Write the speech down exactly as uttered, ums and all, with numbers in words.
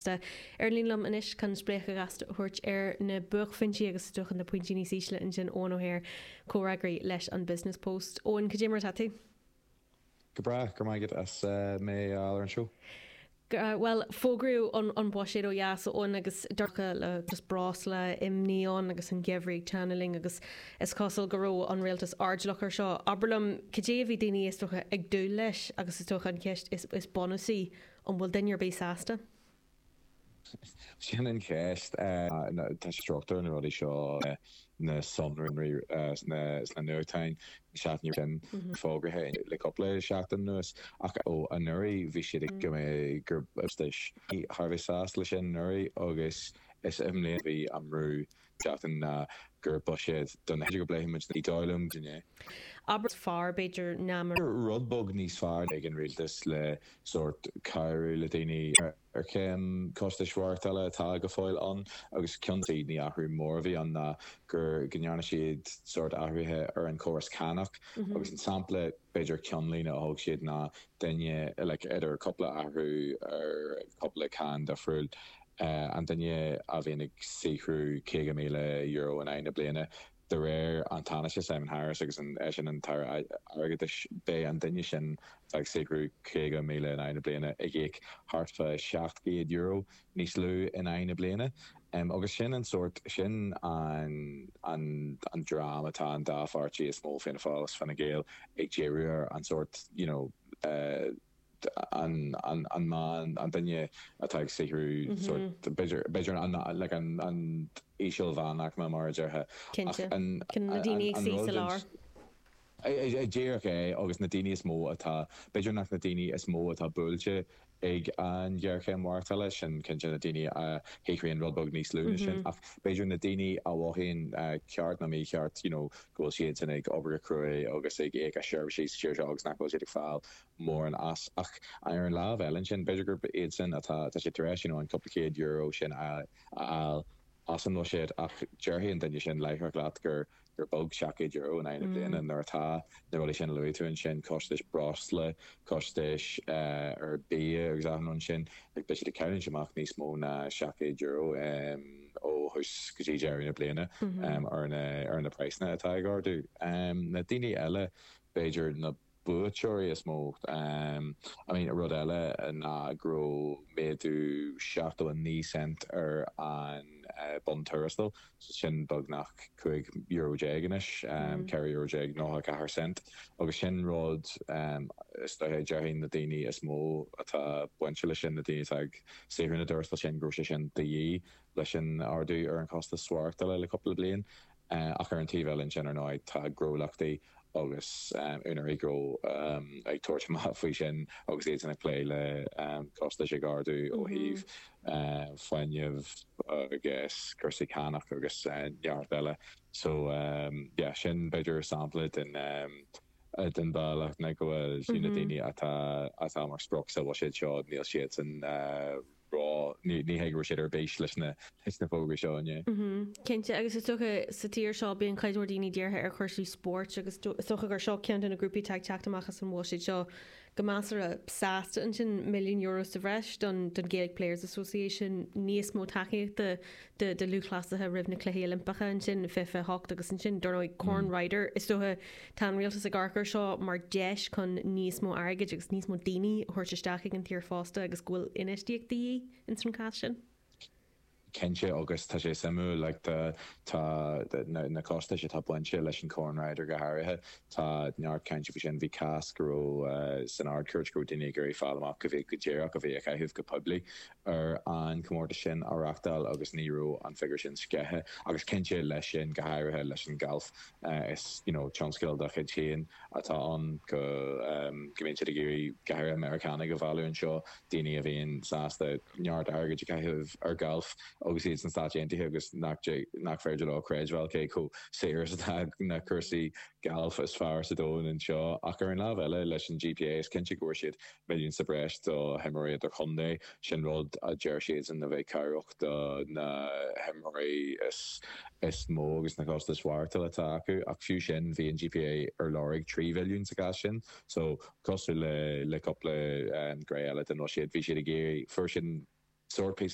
Ar an líne liom anois chun spléachadh gasta a thabhairt ar na buaicphointí agus is dócha na pointí níos ísle ansin Eoin O'Hare comhfhreagraí leis an Business Post. Eoin cad é mar atá tú? Go breá go maith as mé ar an seo. Well fógraíodh an an buiséad ó dheas Eoin agus dorcha le just breosla imní ann agus an geimhreadh ag teannadh linn agus is cosúil go raibh an rialtas airdeallach ar seo. Abair liom cad é a bhí daoine is dócha ag dúil leis agus is dócha an cheist is, is bunúsaí an bhfuil duine ar bith sásta. Sin an cheist tá struchtúr na rudaí seo na sonraí sna nuachtáin seachtain sin fógraithe le cúpla seachtain anuas ach ó anuraidh bhí siad ag go mbeidh gur thar bheith sásta leis sin anuraidh agus is i mbliana bhí an brú seachtain ná gur buiséad don go bpléifimid ní dóigh liom inné. Abair fearr b'fhéidir ná mar rud beag níos fearr ag an rialtas le sórt cabhrú le daoine ar chéim costais mhaireachtála atá go fóill ann agus ceann ní athrú mór a bhí ann ná gur go ndearna siad sórt athruithe ar an chóras cánach agus an sampla b'fhéidir ceannlíne a thóg siad ná duine like, idir cúpla athrú ar cúpla cáin difriúil an duine a bhíonn ag saothrú caoga míle euro in aghaidh na bliana de réir an Tánaiste Simon Harris agus an sin an tAire Airgeadais beidh an duine sin ag saothrú caoga míle in aghaidh na bliana ag íoc thart fá seacht gcéad euro níos lú in aghaidh na bliana. Um, agus sin an sórt sin an, an, an dream atá an dá pháirtí is mó Fianna Fáil agus Fine Gael ag díriú ar an sórt you know, uh, an an an man an duine atá ag saothrú b'fhéidir an like an an íseal-mheánaicme mar a déarfá na daoine ag suí sa lár. Díreach é agus na daoine is mó atá b'fhéidir nach na daoine is mó atá buailte ag an ghéarchéim mhaireachtála sin cinnte na daoine a shaothraíonn rud beag níos lú ná sin ach b'fhéidir na daoine a mhothaíonn ceart nó mícheart you know, go bhfuil siad sin ag obair go cruaidh agus ag íoc as seirbhísí sa tír seo agus nach bhfuil siad ag fáil mórán as ach ar an lámh eile sin b'fhéidir gurb iad sin atá tá sé tar éis you know, an cúpla céad euro sin a fháil as an mbuiséad ach déarfaidh an duine sin láithreach leat gur gur beag seacht gcéad euro in aghaidh na bliana nuair atá na rudaí sin a luaigh tú ansin costais breosla costais ar bia agus achan rud sin like beidh siad ag cailliúint amach níos mó ná seacht gcéad euro um, ó thús go dtí deireadh na bliana um, ar na ar na praghsanna atá ag ardú. Um, na daoine eile b'fhéidir na buaiteoirí is mó um, I mean rud eile ná go raibh méadú seachtó a naoi cent ar an uh, bonn tuarastail so sin beagnach cúig euro déag anois um, ceithre euro déag nócha ceathair cent agus sin rud um, is dócha déarfainn na daoine is mó atá bainte leis sin na daoine atá ag saothrú na dtuarastal sin go raibh sé sin de dhíth leis an ardú ar an costas maireachtála le cúpla bliain uh, ach ar an taobh eile sin ar ndóigh tá gnólachtaí agus um, úinéirí gnó um, ag tabhairt amach faoi sin agus iad ag plé le um, costais ag ardú ó thaobh uh, fuinnimh agus cúrsaí cánach agus uh, neart eile. So um, yeah, sin b'fhéidir sampla den um, den bealach na go bhfuil na daoine atá atá mar sprioc sa bhuiséad seo níl siad san uh, rá ní ní hé go raibh siad ar bís leis na leis na fógraí seo inné. Cinnte agus is dócha sa tír seo bíonn cuid mhór daoine dírithe ar chúrsaí spóirt agus is dócha gur seo ceann de na grúpaí atá ag teacht amach as an bhuiséad seo go measartha sásta ansin milliún euro sa bhreis don don Gaelic Players Association níos mó tacaíochta de de lúthchleasaithe roimh na Cluichí Oilimpeacha ansin fiche hocht agus ansin dar ndóigh Corn Ryder is dócha tá an rialtas ag amharc air seo mar deis chun níos mó airgid agus níos mó daoine a thabhairt isteach ag an tír fosta agus go bhfuil infheistíocht de dhíth ins an cás sin. Cinnte agus tá sé suimiúil like, tá tá na, na costais atá bainte leis an Corn Ryder go háirithe tá neart cainte faoi sin bhí cás go raibh uh, san Ard-Chúirt go raibh daoine ag iarraidh fáil amach go bhí go díreach a bhí a chaitheamh go poiblí ar an comórtas sin a reáchtáil agus ní raibh an figiúr sin sceithe agus cinnte leis sin go háirithe leis an galf uh, is you know, tionscal dá chuid féin atá ann go um, go mbíonn siad ag iarraidh go háirithe Meiriceánaigh a mhealladh anseo daoine a bhíonn sásta neart airgid a chaitheamh ar galf agus iad sna Stáit Aontaithe agus nach nach féidir leo creidbheáil cé chomh saor is atá na cúrsaí galf is fearr sa domhan anseo ach ar an lámh eile leis an GPA is cinnte go bhfuair siad milliún sa bhreis do himreoirí idirchontae sin rud a deir siad san a bheith cabhrach do na himreoirí is is mó agus na costais mhaireachtála atá acu ach fiú sin bhí an GPA ar lorg trí mhilliún sa chás sin so cosúil le le cúpla um, gné eile den bhuiséad bhí siad ag iarraidh fuair sin sórt píosa